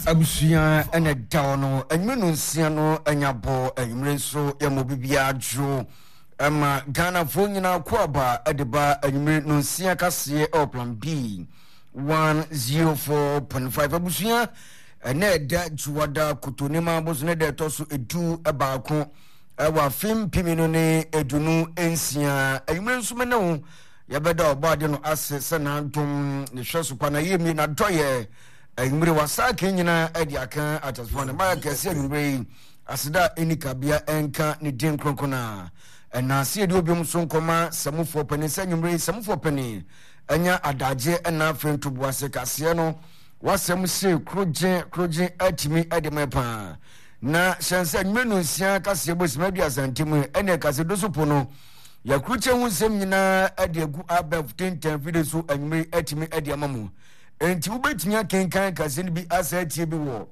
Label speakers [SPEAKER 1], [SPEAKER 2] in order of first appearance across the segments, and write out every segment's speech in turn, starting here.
[SPEAKER 1] Abusua ɛna ɛda hɔ no anwumere no nsia no anya bɔ anwumere nso yɛma obi biara dwo ɛma Ghanafoɔ nyinaa kɔ aba ɛde ba anwumere no nsia kaseɛ ɛwɔ plan B 104.5 abusua ɛna ɛda dwoada kotonima boso ne da ɛtɔ so edu baako ɛwɔ afe mpem no ne edunu nsia anwumere nso mene wo yɛbɛda ɔbɔade no ase sɛ n'adom ne hwɛ so pa na yɛmie n'adɔyɛ anwummere wasaake nyinaa adi aka akyɛsefoɔ ne mayɛ kɛse anwummere yi aseda a ɛni kabea ɛnka ne din kronkron a ɛna ase yɛde obiom so nkɔma sɛmufoɔ panin sɛ anwummere yi sɛmufoɔ panin anya adagye ɛna afei ntoboase kaseɛ no wasɛm se korogye korogye atumi ɛde mɛ paa na hyɛn sɛ anwummere no nsia kaseɛ bɔ sima aduasa ntam ɛne ɛkase do so po no yɛakurukyɛ ho nsɛm nyinaa ɛde agu abɛf tentan fide so anwummere atumi ɛde ama mu. Enti wobɛtumi akenkan kaseɛ no bi asa atie bi wɔ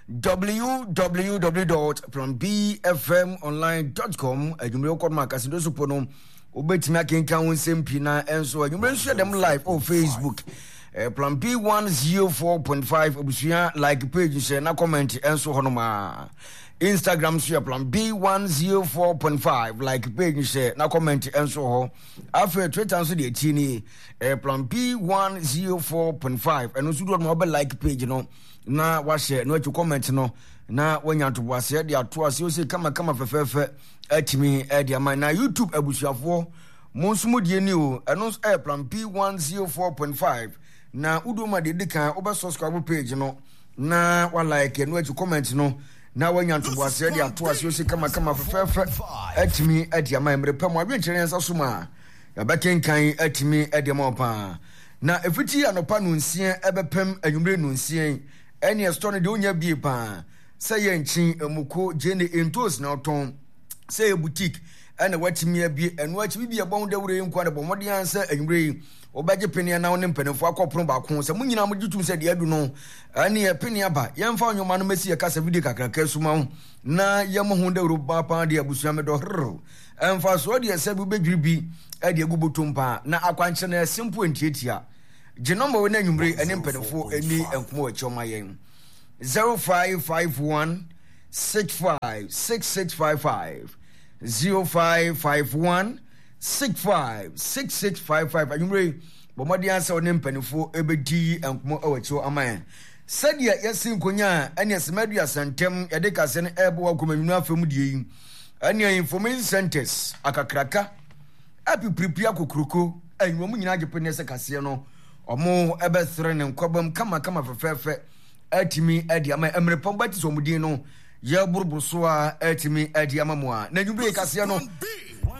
[SPEAKER 1] www.planbfmonline.com adwumire wokɔ no ma kasedo so po no wobɛtumi akenkan wo nsɛm pii na ɛnso adwumire nso yɛ dɛm live wɔ facebook eh, plan b 104.5 abusua like page nhyɛ na comment ɛnso hɔ nom a instagram nso yɛ plan b 104.5 like page nhyɛ na comment ɛnso hɔ afei twitter nso deɛ akyi nie ɛyɛ plan p 104.5 ɛno nso doɔ no wabɛ like page no na wahyɛ na wakyi comment no na wanya ntoboaseɛ de ato ase ose kamakama fɛfɛɛfɛ atumi de ama na youtube abusuafoɔ mo nso mo die ni o ɛno nso ɛyɛ plan p 104.5 na woduo ma deɛ di kan wobɛ subscribe page no na wa like ɛno akyi comment no na wanya ntoboaseɛ de ato ase ose kamakama fɛfɛɛfɛ atumi de ama mmerɛ pɛ mo adwenkyerɛ yɛn nsa so ma Yɛbɛkenkan atumi de ama wo paa. Na ɛfiti anɔpa nonsia ɛbɛpem anwummere nonsia yi, ɛneɛ store no deɛ wonya bie paa. Sɛ yɛ nkyen, muko, gyeene, ntoos na wotɔn, sɛ yɛ boutique ɛna watumi abie. Ɛno akyi bibi ɛbɔ ho dawuro yi nkoa de bɔ mmɔden ara sɛ anwummere yi wobɛgye peneɛ na wo ne mpanimfoɔ akɔ pono baako. Sɛ mo nyinaa mogye tom sɛ deɛ adu no ɛneɛ peneɛ aba, yɛmfa nnwoma no mmɛsi yɛ kasa video kakraka so ma wo na yɛmmɔ ho dawuro paa paa deɛ abusua medɔ herr. Mfasoɔ deɛ sɛ bi wobɛdwiri bi de agu botom paa na akwankyerɛ no yɛ simple ntiatia. Gye nɔmba wei na anwummere ɛne mpanimfoɔ ɛni nkɔmmɔ wɔ akyi ɔma yɛn 0551 65 6655 0551 65 6655 anwummere bɔ mmɔden asɛ ɔne mpanimfoɔ ɛbɛdi nkɔmmɔ wɔ akyi ama yɛn sɛdeɛ yɛsi nkonya a ɛne ɛsɛm aduasa ntɛm yɛde kaseɛ no ɛrebɔ wɔ akɔmanyini afam deɛ yi Ɛnea information centers akakraka apipiripi akokuroko ayi wɔn nyinaa agye pene sɛ kaseɛ no wɔn ɛbɛsere ne nkwabam kamakama fɛfɛɛfɛ atumi adi ama mmerɛ pam bɛte sɛ wɔn din no yɛboroboro so a atumi adi ama mu a na nwumire kaseɛ no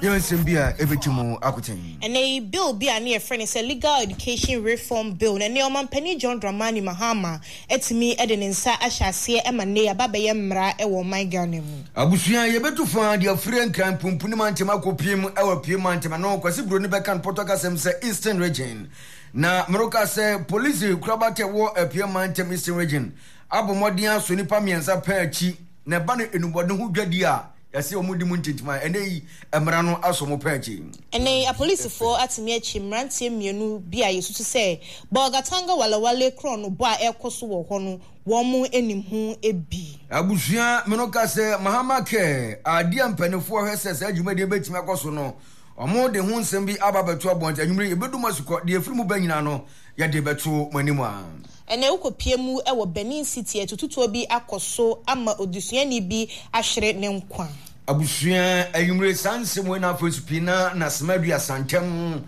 [SPEAKER 1] yɛ nsɛm bi a ɛbɛti mu akoten.
[SPEAKER 2] Ɛnnɛ yi, bill bi a ne yɛfrɛ no sɛ Legal Education Reform Bill na ɛnnɛ Ɔmanpanin John Dramani Mahama atumi de ne nsa ahyɛ aseɛ ma nnɛ yi aba abɛyɛ mmara wɔ ɔman Ghana mu.
[SPEAKER 1] Abusua, yɛbɛtu fa de afiri Nkran Pumpuni mantam akɔpiem wɔ Apue mantam, ɛno Kwasi Broni bɛka no pɔtɔ kasɛm sɛ Eastern Region. Na meroka sɛ polisi korabata ɛwɔ Apue mantam Eastern Region abɔ mmɔden asɔ nnipa mmiɛnsa pɛn akyi na ɛba no enubɔden ho dwadie a yɛse wɔn di mu ntintim a ɛnɛ yi mmara no asɔ wɔn pɛn akyi.
[SPEAKER 2] Ɛnnɛ yi, apolisifoɔ atumi akyi mmeranteɛ mmienu bi a yɛsusu sɛ Bolgatanga Walewale korɔnobɔ a ɛrekɔ so wɔ hɔ no, wɔn nim ho bi.
[SPEAKER 1] Abusua me no ka sɛ Mahama Care adeɛ a mpaninfoɔ hwɛ sɛ saa dwumadie bɛtumi akɔ so no, wɔn de ho nsɛm bi aba abɛto abɔnten. Anwummere yi, yɛbɛdu mo asukɔ, deɛ ɛfiri mu ba nyinaa no, yɛde bɛto mo anim a.
[SPEAKER 2] Ɛnnɛ wokɔpue mu wɔ Benin City atututuo bi akɔ so ama odesuani bi ahwere ne nkwa.
[SPEAKER 1] Abusua anwummere saa nsɛm wei na afei nso pii na Nasema Aduasa ntɛm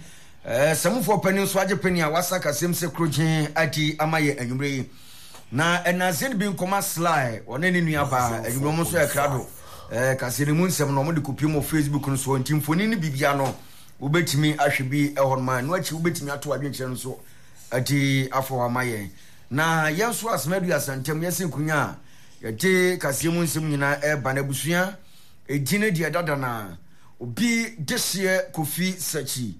[SPEAKER 1] sɛmufoɔ panin nso agye pene a wasa kasɛm sɛ kurogyen adi ama yɛ anwummere yi. Na ɛnanse no bi nkɔma Sly ɔne ne nua baa anwummere wɔn nso yɛ krado kaseɛ no mu nsɛm no wɔn de kɔpue mu wɔ Facebook no so nti mfoni no bibia no wobɛtumi ahwɛ bi ɛhɔ nom a ɛno akyi wobɛtumi ato adwenkyerɛ no nso adi afa hɔ ama yɛn. Na yɛn nso asɛm aduasa ntam yɛsi nkonya a yɛde kaseɛ mu nsɛm nyinaa ɛreba no abusua ɛdi no deɛ dada na obi dehyeɛ Kofi Sakyi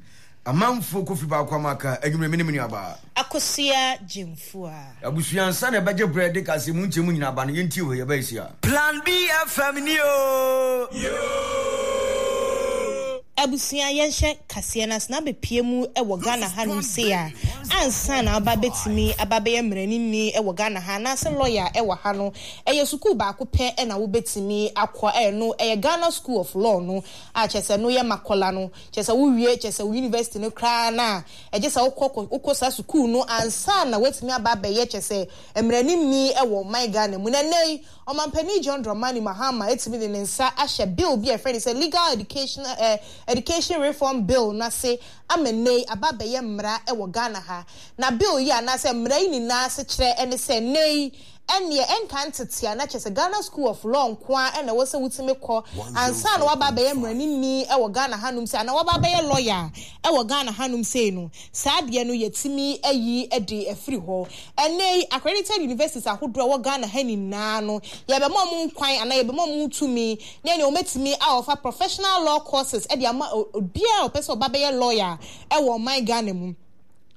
[SPEAKER 1] amanfoɔ Kofi baako ama aka anwummerɛ me ne me nuabaa
[SPEAKER 2] Akosua Gyamfua.
[SPEAKER 1] Abusua ansa na ɛbɛgye berɛ de kaseɛ mu nkyɛmu nyinaa ba no yɛntie wei yɛbɛyɛ sia.
[SPEAKER 3] Plan B FM ni o.
[SPEAKER 2] Abusua yɛnhyɛ kaseɛ no ase na abɛpue mu wɔ Ghana hanom sei a, ansa na woaba bɛtumi aba abɛyɛ mmaranimni wɔ Ghana ha anaasɛ lɔya wɔ ha no, ɛyɛ sukuu baako pɛ na wobɛtumi akɔ, ɛno ɛyɛ Ghana School of Law no a kyerɛ sɛ ɛno yɛ Makola no, kyerɛ sɛ wowie kyerɛ sɛ wo university no koraa no a, ɛgye sɛ wokɔ wokɔ saa sukuu no ansa na woatumi aba abɛyɛ kyerɛ sɛ mmaranimni wɔ ɔman Ghana mu. Na ɛnnɛ yi, Ɔmanpanin John Dramani Mahama atumi de ne nsa ahyɛ bill bi a yɛfrɛ no sɛ Legal Education eh, Education Reform Bill no ase ama nnɛ yi aba abɛyɛ mmara wɔ Ghana ha. Na bill yi anaasɛ mmara yi nyinaa asekyerɛ ne sɛ nnɛ yi ɛnneɛ ɛnka ntete a na kyerɛ sɛ Ghana School of Law nko ara na ɛwɔ sɛ wotumi kɔ ansa na woaba abɛyɛ mmaranimni wɔ Ghana hanom sei anaa woaba abɛyɛ lawyer wɔ Ghana hanom sei no. Saa adeɛ no yɛatumi ayi de afiri hɔ. Ɛnnɛ yi, accredited universities ahodoɔ a ɛwɔ Ghana ha nyinaa no, yɛbɛma wɔn kwan anaa yɛbɛma wɔn tumi ne ɛnneɛ wɔatumi a wɔfa professional law courses de ama obiara a ɔpɛ sɛ ɔba bɛyɛ lawyer wɔ ɔman Ghana mu.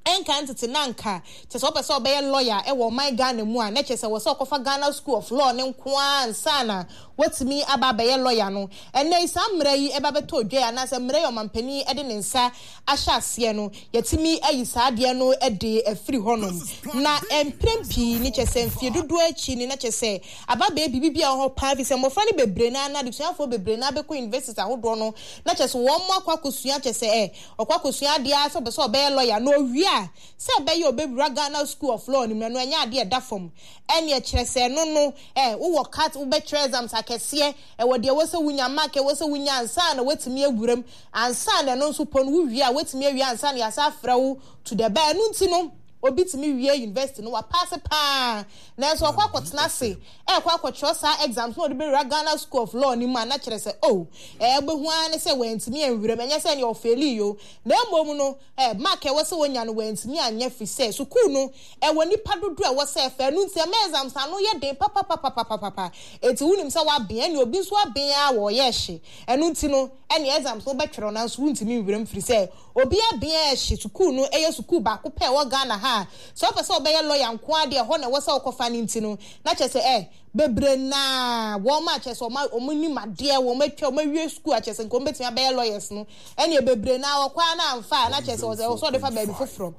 [SPEAKER 2] Ɛnka ntete na anka kyerɛ sɛ wopɛ sɛ wobɛyɛ lawyer wɔ ɔman Ghana mu a, na kyerɛ sɛ ɛwɔ sɛ wokɔfa Ghana School of Law no nko ara ansa na woatumi aba abɛyɛ lawyer no. Ɛnnɛ yi, saa mmara yi ba bɛtɔ dwa yi anaasɛ mmara yi a ɔmanpanin de ne nsa ahyɛ aseɛ no, yɛatumi ayi saa adeɛ no de afiri hɔnom. Na mprɛn pii no, kyerɛ sɛ mfeɛ dodoɔ akyi no, na kyerɛ sɛ aba abɛyɛ biribi bi a ɛwɔ hɔ paa, ɛfiri sɛ mmɔfra no bebree no ara no, adesuafoɔ bebree no ara bɛkɔ universities ahodoɔ no, na kyerɛ sɛ wɔn akɔ akɔsua, kyerɛ sɛ ɛ, ɔkɔ akɔsua adeɛ ara sɛ ɔpɛ sɛ ɔbɛyɛ lawyer, na ɔwie a, sɛ ɛbɛyɛ a ɔbɛwura Ghana School of Law no mu no, ɛno ɛnyɛ adeɛ a ɛda fam. Ɛnneɛ kyerɛ sɛ ɛno no, ɛ, wowɔ cut, wobɛtwerɛ exams akɛseɛ, ɛwɔ deɛ ɛwɔ sɛ wonya, mark a ɛwɔ sɛ wonya ansa na woatumi awura mu. Ansa na ɛno nso po no, wo wie a, woatumi awie ansa na yɛasan afrɛ wo to the bar. Ɛno nti no, obi tumi wie university no, wapaase paa, nanso ɔkɔ akɔtena ase ɛrekɔ akɔtwerɛ saa exams na ɔde bɛwura Ghana School of Law no mu a, na kyerɛ sɛ oh, ɛɛ, wobɛhu ara ne sɛ wantumi anwura mu. Ɛnyɛ sɛ ɛneɛ ɔfeelii o, na mmom no, ɛɛ, mark a ɛwɔ sɛ ɔnya no, wantumi anyɛ firi sɛ sukuu no, ɛwɔ nnipa dodoɔ a ɛwɔ sɛ ɛfa. Ɛno nti, ɛma exams no ano yɛ den papapapapapapa. Enti wonim sɛ woaben, ɛneɛ obi nso aben ara wɔ ɔyɛ hye. Ɛno nti no, ɛnneɛ exams no wobɛtwerɛ nanso wontumi nwura mu firi sɛ obiara bea a ɛhye sukuu no yɛ sukuu baako pɛ a ɛwɔ Ghana ha a sɛ wopɛ sɛ wobɛyɛ lawyer nko ara deɛ ɛhɔ na ɛwɔ sɛ wokɔfa no nti no na kyerɛ sɛ eh bebree no ara wɔn a kyerɛ sɛ wɔn wɔn nim adeɛ wɔn atwa wɔn awie sukuu a kyerɛ sɛ nka wɔn bɛtumi abɛyɛ lawyers no ɛnneɛ bebree no ara wɔkɔ ara na amfa a na kyerɛ sɛ ɛwɔ sɛ wɔde fa baabi foforɔ.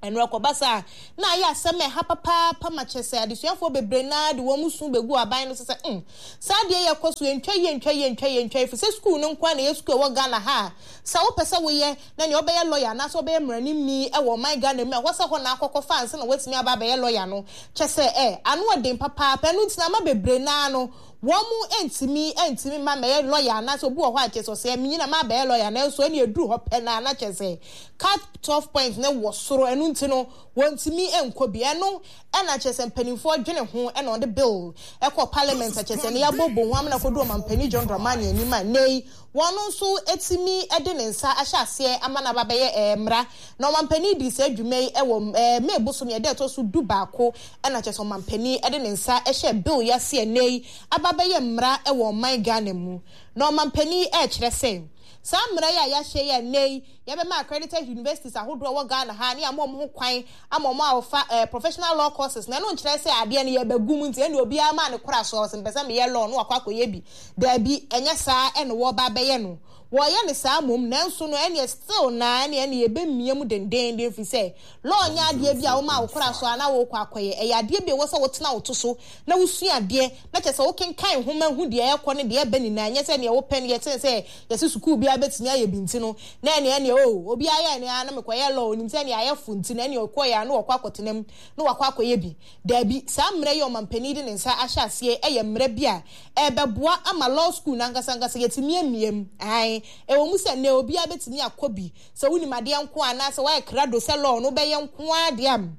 [SPEAKER 2] Ɛno ɛkɔba saa a, na ayɛ asɛm a ɛha papaapa ma kyerɛ sɛ adesuafoɔ bebree no ara de wɔn su bɛgu aban no so sɛ, mm, saa adeɛ yi ɛkɔ so, ɛntwa yie, ɛntwa yie, ɛntwa yie, ɛntwa yie, ɛfiri sɛ sukuu no nko ara na ɛyɛ sukuu a ɛwɔ Ghana ha a, sɛ wopɛ sɛ woyɛ na nea wobɛyɛ lɔya anaasɛ wobɛyɛ mmaranimni wɔ ɔman Ghana mu a, ɛhɔ sɛ hɔ na akɔkɔfa ansa na woatumi aba abɛyɛ lɔya no, kyerɛ sɛ ɛ, ano ɔden papaapa. Ɛno nti na ama bebree no ara no, wɔn ntumi ntumi mma mmɛyɛ lɔya anaasɛ obi wɔ hɔ a kyerɛ sɛ ɔsɛ menyin a mabɛyɛ lɔya nanso ɛnna ɛduru hɔ pɛ no ara na kyerɛ sɛ Cut off point no wɔ soro ɛno nti no wɔntumi nkɔ bi. Ɛno na kyerɛ sɛ mpanimfoɔ dwene ho na wɔde bill kɔɔ parliament a kyerɛ sɛ ɛno yɛabɔbɔ ho amena kɔdu ɔmampanin John Dramani anim a nnɛ yi wɔn nso atumi de ne nsa ahyɛ aseɛ ama no aba abɛyɛ mmara. Na ɔmampanin dii saa dwuma yi wɔ May bosome a ɛda ɛtɔ so dubaako na kyerɛ sɛ ɔmampanin de ne nsa hyɛɛ bill yi ase a nnɛ yi aba abɛyɛ mmara wɔ ɔman Ghana mu. Na ɔmampanin rekyerɛ sɛ saa mmara yi a yɛahyɛ yi a nnɛ yi Yɛbɛma accredited universities ahodoɔ a ɛwɔ Ghana ha ne ama wɔn ho kwan ama wɔn a wɔfa eh, professional law courses na ɛno nkyerɛ sɛ adeɛ no yɛbɛgu mu nti ɛnde obiara maa ne kora so ɔsɛ mpɛ sɛ meyɛ law no wakɔ akɔyɛ bi. Daabi, ɛnyɛ saa ɛna wɔreba abɛyɛ no. Wɔreyɛ no saa mmom nanso no ɛneɛ still na ɛneɛ ɛne yɛbɛmia mu dendeenden ɛfiri sɛ law nyɛ adeɛ bi a woma wo kora so a na worekɔ akɔyɛ. Ɛyɛ adeɛ bi a ɛwɔ sɛ wotena wo to so na wosua adeɛ na kyerɛ sɛ wokenkan nwoma hu deɛ ɛrekɔ ne deɛ ɛreba nyinaa ɛnyɛ sɛ deɛ wopɛ no yɛ sɛ Yɛse sukuu biara bɛtumi ayɛ bi nti no, na ɛneɛ ɛneɛ oh, obiara yɛɛ ne ara na mekɔyɛɛ law, onim sɛ ɛneɛ ayɛ fo nti no ɛneɛ ɔkɔeɛ ara na wakɔ akɔtena mu na wakɔ akɔyɛ bi. Daabi, saa mmara yi a ɔmampanin de ne nsa ahyɛ aseɛ yi yɛ mmara bi a ɛrebɛboa ama law school no ankasa ankasa yɛatumi amia mu. Aane, ɛwɔ mu sɛ nnɛ obiara bɛtumi akɔ bi, sɛ wonim adeɛ nko ara anaasɛ woayɛ krado sɛ law no wobɛyɛ nko ara deɛ a,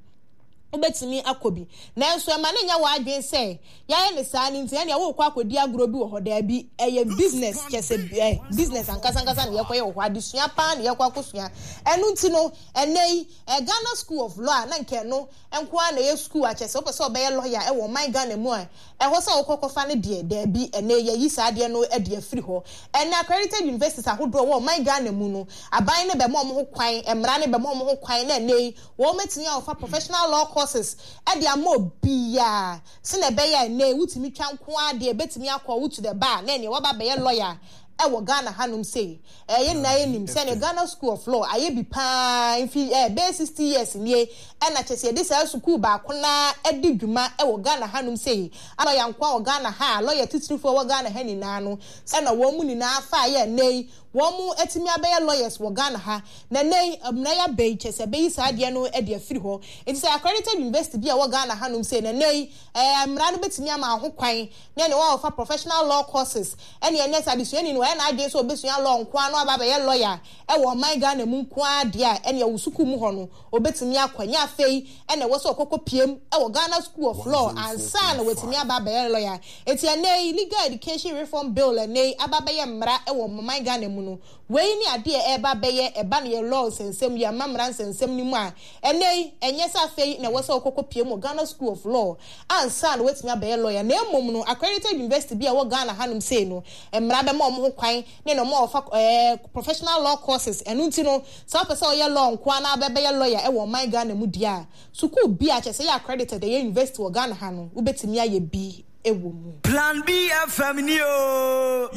[SPEAKER 2] wobɛtumi akɔ bi. Nanso ɛma no nyɛ w'adwene sɛ yɛayɛ no saa no nti ɛnneɛ worekɔ akɔdi agorɔ bi wɔ hɔ. Daabi, ɛyɛ business, kyerɛ sɛ eh, business ankasa ankasa na yɛkɔyɛ wɔ hɔ. Adesua paa na yɛkɔ akɔsua. Ɛno nti no, ɛnnɛ yi, eh, Ghana School of Law a na nka ɛno nko ara na ɛyɛ sukuu a kyerɛ sɛ wopɛ sɛ wobɛyɛ lɔya wɔ ɔman Ghana mu a, ɛhɔ sɛ wokɔ kɔfa no deɛ, daabi, ɛnnɛ yi yɛayi saa adeɛ no de afiri hɔ. Ɛnnɛ accredited universities ahodoɔ a ɛwɔ ɔman Ghana mu no, aban no bɛma wɔn ho kwan, mmara no bɛma wɔn ho kwan na ɛnnɛ yi, Wɔatumi afa professional law courses de ama obiara sɛnea ɛbɛyɛ a ɛnnɛ yi wotumi twa nko ara deɛ ɛbɛtumi akɔ wo to the bar na ɛnneɛ woaba abɛyɛ lawyer. Ɛwɔ Ghana hanom sei, ɛɛ yɛn nyinaa yɛnim sɛdeɛ Ghana School of Law ayɛ bi pa ara mfi ɛɛ bɛyɛ 60 years nie ɛna kyerɛ sɛ yɛde saa sukuu baako no ara adi dwuma wɔ Ghana hanom sei. Lɔya nkoa wɔ Ghana ha a, lɔya titirifoɔ a ɛwɔ Ghana ha nyinaa no, ɛna wɔn mu nyinaa faeɛ a ɛnnɛ yi wɔn atumi abɛyɛ lawyers wɔ Ghana ha. Na ɛnnɛ yi mmara yi aba yi kyerɛ sɛ ɛbɛyi saa adeɛ no de afiri hɔ. Nti sɛ accredited university bi a ɛwɔ Ghana hanom sei no, ɛnnɛ yi ɛɛ mmara no bɛtumi ama ho kwan na ɛne wɔn a wɔfa professional law courses ɛne ɛnnɛ sɛ adesuani no wayɛ n'adwene sɛ ɔbɛsua law nko ara na waba abɛyɛ lawyer wɔ ɔman Ghana mu nko ara deɛ a, ɛneɛ wo sukuu mu hɔ no ɔbɛtumi akɔ. Ɛnyɛ afei na ɛwɔ sɛ ɔkɔkɔ piem wɔ Ghana School of Law ansa na watumi aba abɛyɛ lawyer. Enti ɛnnɛ yi Legal Education Reform Bill a ɛnnɛ yi aba abɛyɛ mmara wɔ ɔman Ghana mu no, wei ne adeɛ a ɛreba abɛyɛ ɛba no yɛ law nsɛnsɛm yi, amammerɛ nsɛnsɛm no mu a, ɛnnɛ yi ɛnyɛ sɛ afei na ɛwɔ sɛ ɔkɔkɔ piem wɔ Ghana School of Law ansa na watumi abɛyɛ lawyer na mmom no accredited university bi a ɛwɔ Ghana hanom sei no mmara bɛma wɔn ho kwan ne na wɔn a wɔfa ɛɛ professional law courses. Ɛno nti no sɛ wopɛ sɛ ɔyɛ law nko ara na wobɛbɛyɛ lawyer ɛwɔ ɔman Ghana mu deɛ a, sukuu bi a kyerɛ sɛ ɛyɛ accredited ɛyɛ university wɔ Ghana ha no wobɛtumi ayɛ bi wɔ mu.
[SPEAKER 1] Plan B FM ni oo.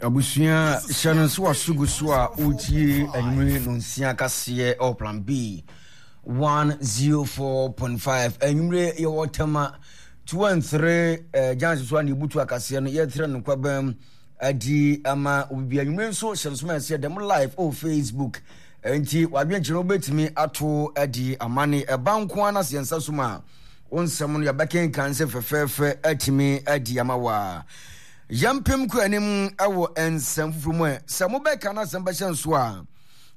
[SPEAKER 1] Abusua hyɛ no nso aso gu so a wotie anwummere nonsia kaseɛ ɛwɔ Plan B 104.5 anwummere yɛwɔ Tema 2 and 3 eh, gyanse so a na ebutu akaseɛ no yɛtrɛ no kwabam adi ama obi anwummere nso hyɛ no so ma ɛsɛ dɛm live wɔ Facebook nti wadwenkyerɛ no wobɛtumi ato adi ama ne ɛba nko ara na sɛ yɛn nsa so ma wo nsɛm no yɛbɛkenkan sɛ fɛfɛɛfɛ atumi adi ama wo a yɛmpem kɔ anim wɔ nsɛm foforɔ mu ɛ sɛ mobɛka no asɛm bɛhyɛ nso a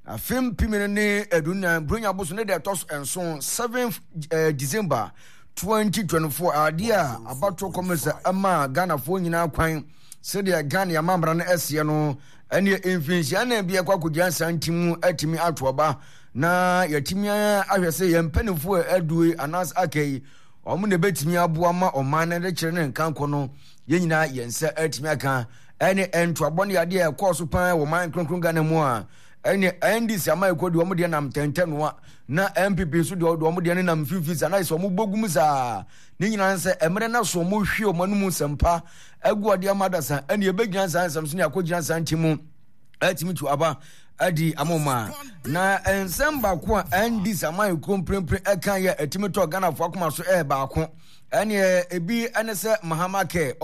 [SPEAKER 1] Afe 2014 Buronya boso ne da ɛtɔ so nson, 7th December 2024, adeɛ a abatoɔ kɔmisa ɛmaa Ghanafoɔ nyinaa kwan sɛdeɛ Ghana amambra no ɛseɛ no, ɛneɛ mfinhyia nan bi ɛkɔ akɔgyina saa nti mu atumi ato aba na yɛatumi ahwɛ sɛ yɛn mpanimfoɔ a adue anaasɛ aka yi wɔn na ɛbɛtumi aboa ma ɔman no de kyerɛ ne nkankɔ no yɛn nyinaa yɛn nsa atumi aka. Ɛne ntoabɔ ne adeɛ a ɛkɔɔ so paa wɔ man kronkron Ghana mu a ɛne NDC amayɛkuo deɛ wɔn deɛ nam ntɛntɛnoa na NPP nso deɛ wɔn deɛ no nam mfimfini saa na sɛ wɔn bɔ gum saa ne nyinaa sɛ mmerɛ no so wɔn hwie wɔn anum nsɛmpa agu adeɛ ama adasa ɛne ɛbɛgyina saa nsɛm so ne akɔgyina saa nti mu atumi tu aba adi ama wɔn a na nsɛm baako a NDC amayɛkuo mprempren ɛka yɛ ɛtumi tɔ Ghanafoɔ akoma so ɛyɛ baako ɛneɛ ebi ɛne sɛ Mahama kɛ.